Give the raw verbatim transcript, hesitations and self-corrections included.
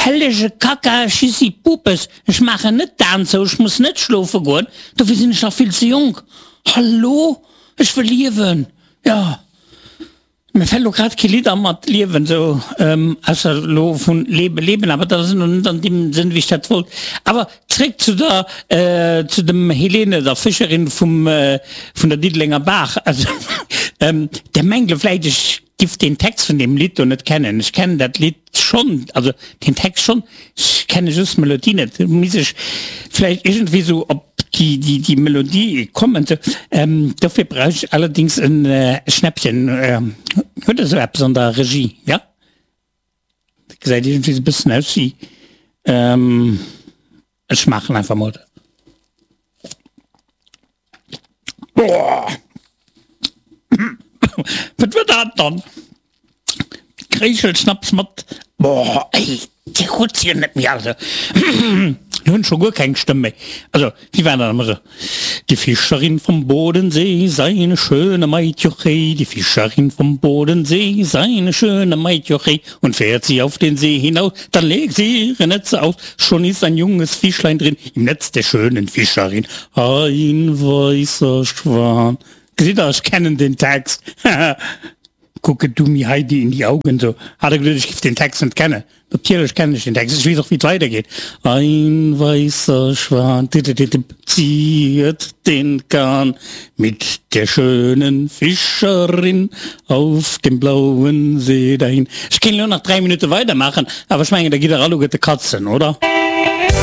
Hellege Kacka Schissi Pupes, ech maachen net d'Aen zou, ech muss net schlofe goen, dofir sinn ech nach vill ze jonk. Hallo, ech wëll liewen, jo. Mir fällt lo grad kee Lidd an mat Liewen sou, ausser lo vun Lebe leben, awer dat ass elo net an deem Sënn wéi ech dat wollt. Awer zréck zu der, zu dem Helene, der Fëscherin vum, vun der Diddelenger Baach. Also der mengt lo vläicht ech giff deen Text vun deem Lidd do net kennen. Ech kennen dat Lidd schonn, also den Text schonn, ech kenne just d'Melodie net. Misst ech vläicht iergendwéi sou op déi, déi, déi Melodie kommen. Sou, dofir brauch ech allerdings en Schnäppchen. Huet Der sou eppes an der Regie? Jo? Dat gesäit iergendwéi sou e bëssen aus wéi, ech maachen einfach mol. Boah! Wat war dat dann? Kréischelschnaps mat, boah, ey, dir hutt se jo net méi all, also lo hunn ech scho guer keng Stëmm méi. Also, wéi war dat ëmmer esou? Die Fischerin vom Bodensee sei eine schöne Maid, jochey, die Fischerin vom Bodensee sei eine schöne Maid, jochey, und fährt sie auf den See hinaus, dann legt sie ihre Netze aus, schon ist ein junges Fischlein drin im Netz der schönen Fischerin, ein weißer Schwan. Gesitt der, ech kennen den Text. Gucke du mir Heidi in die Augen, so hat er geduet, ech giff den Text net kennen. Natierlech kennen ech den Text, ech weess och wéi et weidergeet, Ein weißer Schwan ziert den Kahn mit der schönen Fischerin auf dem blauen See dahin. Ech kéint elo nach dräi Minutte weidermaachen, awer ech mengen da gitt der alleguerte katzen, oder?